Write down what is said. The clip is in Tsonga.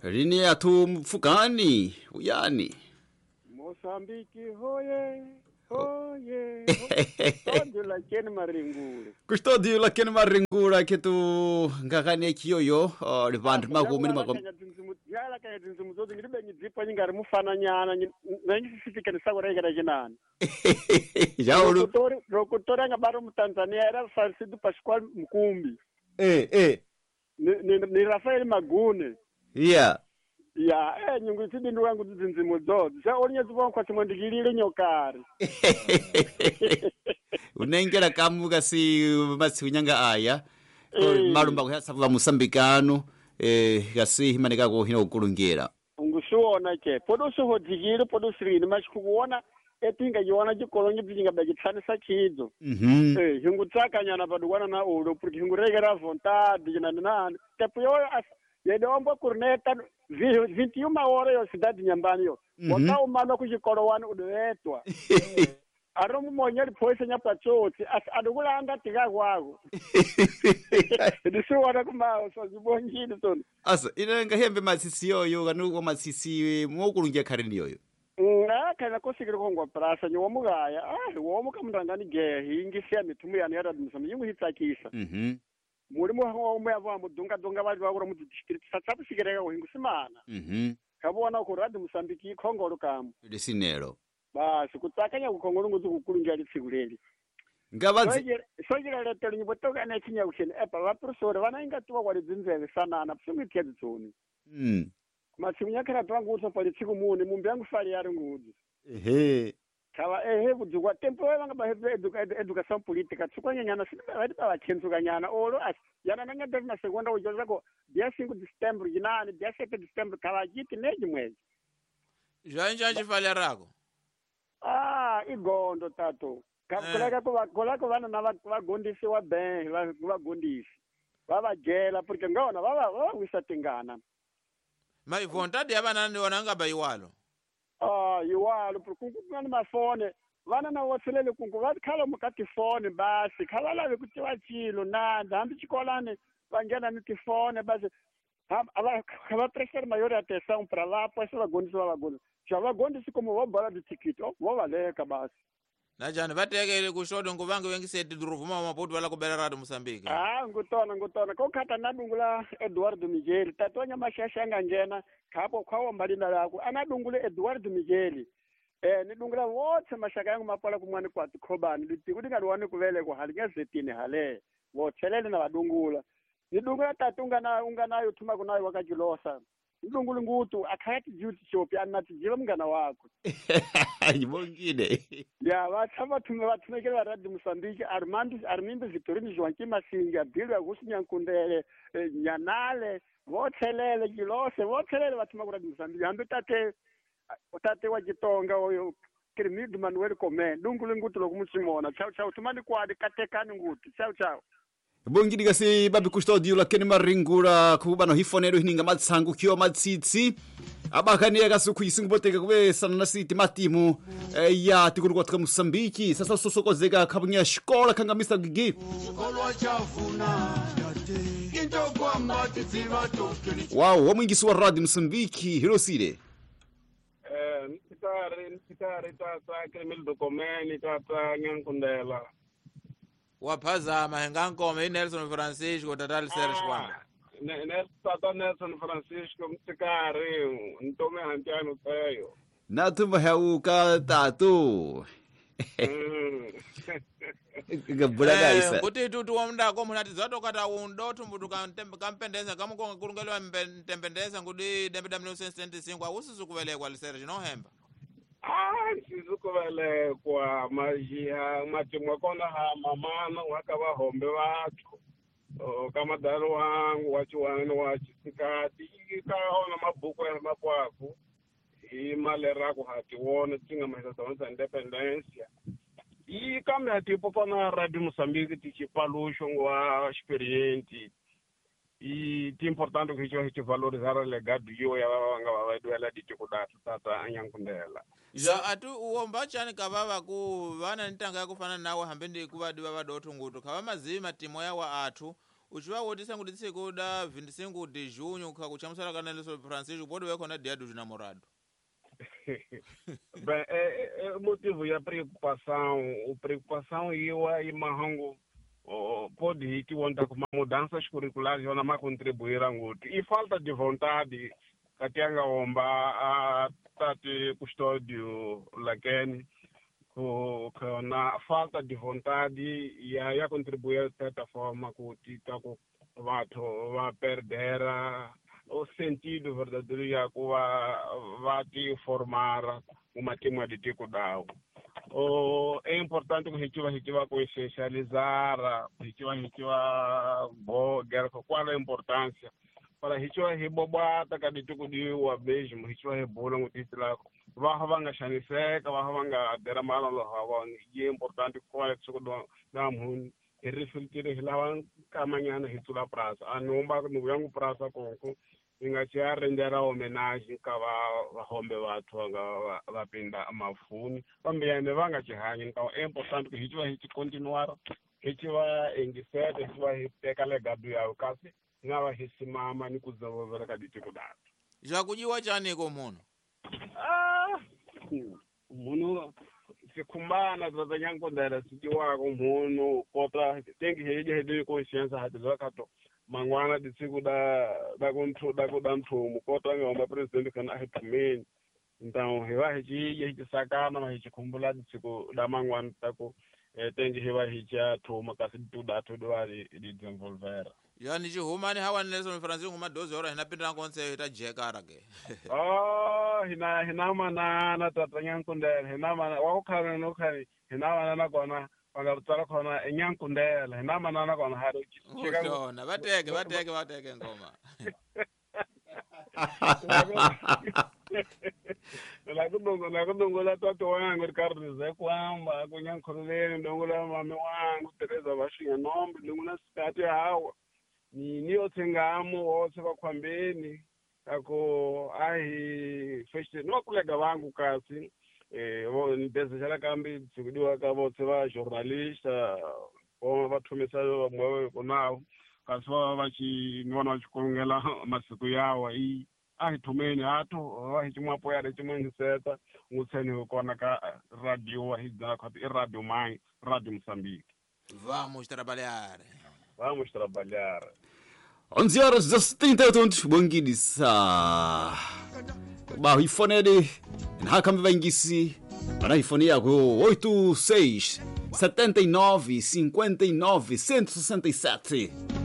Rini athu mfukani uyani Mosambiki hoye hoye. Custódio Lakene Maringura. Custódio Lakene Maringura que tu ngakane kiyoyo livandu makumi ni makumi. Yala kanya tinzimu zote ngiribe nyidzipa nyingari mufananyana nanyisifikani sakura ikara chinani. Jaulu. Rokutora ngabaro mu Tanzania era Falcido Pascoal Mkumbi. Ni Rafael Magune. Yeah. Ya, nyungu tsidi nduwangu dzinzimu dzodzi. Sa olinye dzivon kwa chimwendikilile nyokari. Unengera kamuka si matsiunyanga aya. Malumba kuhatsa musambikano kasi himanika ko hino kulungera. Ungusuona ke podo sohodzikile podo sirini machikuona etinga yiona chikolonyi bzinga bachitsanisa chidzo. Hingutsakanyana padukwana na ulo porque hingurekera vontade chinani nani. Tepo yoyo yedombo kurneta 21 hora yo cidade nyambani yo. Wakaumana kuchikolo wani udoetwa. Aromu monyeri poise nyapatsotsi adukulanga tika kwako. Ndisuwana kumawo so zibongile tona. Asa inenga hembe matsitsi yoyo kanuko matsitsi mokulungia khareni yoyo. Kana kosikira kongwa prasa nyowa womuka mndangani ge hingisia mithumu yani yaradimisa yingu hitsakisa. Mulimo wa umwe avo mudunga dunga vali vakura mu district satsapusikireka kuhingusimana. Kavona ku radi Mosambiki ikhongolo kamu. Lisinelo. Basi kutsakanya kukhongolo ngutsi kukulungia litsiku leli. Ngavadzi sojira letelo nyibotoka na chinya kusheni epa vaprosore vana ingatiwa kwa lidzinzeve sanana psungithia dzitsoni. Matsiku nyakhala twangu pa litsiku muni mumbi yangu fali yari ngudzi. Kava kudzukwa tempo vanga ba educação política tsukanyanyana sibavati bavachenzukanyana olo asi yana nanga na segunda ujozako dia 5 de setembro jinani dia 7 de setembro kava chiti neji mwezi. Zvainja chifali rako. Igondo tato. Kolako vana na vagondisi wa ben vagondisi vavajela porque ngona vavawisa tingana. Mai vontade ya vana ni wananga bayiwalo. Iwalo porque kungani mafone vana na wotselele kungu vakhala mukati fone basi khavalave kuti vachilo nanda hambi chikolane vangena ni tifone basi va prestar maior atenção para lá pois vagondisi vavagondisi já vagondisi como vobala de tikiti vovaleka basi. Najani vatekele kushodo nguvange wengiseti duruvuma maputu wala kubela rado Mosambiki. Ngutona kokhata nadungula Eduardo Miguel tatonya mashasha angangena khabo khwawo mbalina lako anadungule Eduardo Miguel nidungula wotse mashaka yangu mapola kumwani kwa tikhobani litiku ndingaliwani kuvelekwa hali ngezetini hale wotselele na vadungula nidungula tatu unganayo thuma kunayo wakachilosa ndungulu ngutu akhayati duty shop anatijiva mngana wako. Ibongile. Ya vathama thume vathumekela radi Mosambiki Armindo Vitorino Joaquim Masinga Bilwa Gusinyankundele Nyanale votselele Gilose votselele vathuma ku radi Mosambiki hambi tate wa Chitonga oyo Cremildo Manuel Comé ndungulu ngutu lokumuchimona chao chao tumani kwadi katekani ngutu chao chao. Bongidi kasi babi Custódio Lakene Maringura kuba no hifonero hininga matsangu kyo matsitsi abakaniya kasuku isinguboteka kube sanana siti matimu ya tikuru kwa Mosambiki sasa sosokozeka kabunya shikola kangamisa gigi wow wamwingisi wa radio Mosambiki hirosile Mtitari tata Cremildo Comé tata Nyankundela waphazama hingankome i Nelson Francisco tata Serge kwanga tata Nelson Francisco mtsikari ntome hantiano tseyo nathumba hauka tatu ngabulakaisa kuti tutu wamndako munati zatokata undo thumbutu kampendeza kamukonga kulungeliwa ntempendeza ngudi dembe da 1975 awusisu kuvelekwa liserge nohemba. Sisukuvelekwa majiha matimwa kona ha mamana wa ka vahombe vathu ka madalo wangu wa chiwani wa chisikati ka ona mabuku ya mapwaku hi maleraku ha tiwona tinga mahisa tsa independence yi kambe ha tipopana radio Mosambiki tichipaluxo wa experience i ti importante ku hicho hicho valorizar legado yo ya vanga va vaduela ditiko datu tata anyankundela ja atu uomba chani kavava ku vana ntanga ya kufana nawe hambe ndi kuvadi va vadotho ngutu khava mazima timo ya wa athu Uchiva wotisa kuti tsiku da 25 de junho khakuchamusala kana Nelson Francisco pode ver kona dia dos namorados. Bem, é motivo ya preocupação, o preocupação iwa e mahango pode ir que onda com mudanças curriculares yona ma contribuir nguti e falta de vontade katianga omba a tati custódio lakeni na falta de vontade ya contribuir de certa forma kuti tako vathu va perdera o sentido verdadeiro ya ku va ti formar uma tema de tiko dawo. É importante que a gente vá consciencializar, a gente vai bogar qual a importância para a gente vai rebobata cada tipo de o mesmo, a gente vai rebola um título lá, vai vanga xaniseka, vai vanga deramala lo hawa, e é importante qual é o da mun e refletir lá caminhando hitula praça, a nomba no yangu praça konko inga chia rendera homenagem ka vahombe vathu vanga vapinda mafuni vambiyane vanga chihanyi então é importante que a gente vai continuar a gente vai engiseta a gente vai teka legado yawo kasi nga va hisimama ni kudesenvolver ka dificuldade. Já kujiwa chaniko muno? Muno sikhumbana tataNyankondela sikiwako muno kota tengi heje hede consciência hatiza kato mangwana ditsiku da ku da nthumu kota ngomba president kana a hi thumeni então hi va hi ci hi tisakana ma hi chikhumbula ditsiku da mangwana ta ku tengi hi va hi cia thuma kasi tudathu va di desenvolvera. Yani chihumani hawa Nelson Francisco nguma 12 horas hina pindira konse ita jekara ke. Oh hina manana tata Nyankondela hina mana wa ku khana no khani hina manana kona vanga tsala khona eNyankondela hina manana kona ha ri chika vateke ngoma. La kudongola tata wangu Ricardo Zé Kwamba kunyankholeleni ndongola mame wangu Teresa Vashinga Nombe ndongola sikati hawa ni yotsengamo wotse vakhwambeni ako ahi first no kulega vangu kasi ndezexela kambe dzikudiwa ka votse va journalista vo va thumisa vamwe konawo kasi va va chi ni vona va chikulungela masiku yawa i a hi thumeni hatho va hi chimwapo ya re chimungiseta ngutsheni kona ka radio wa hi dzana khati i radio mai Radio Moçambique. Vamos trabalhar. Vamos trabalhar. 11 horas e 38 bongidisa. Ba ifonede nhakambe vaingisi ana ifone yako 86 79 59 167.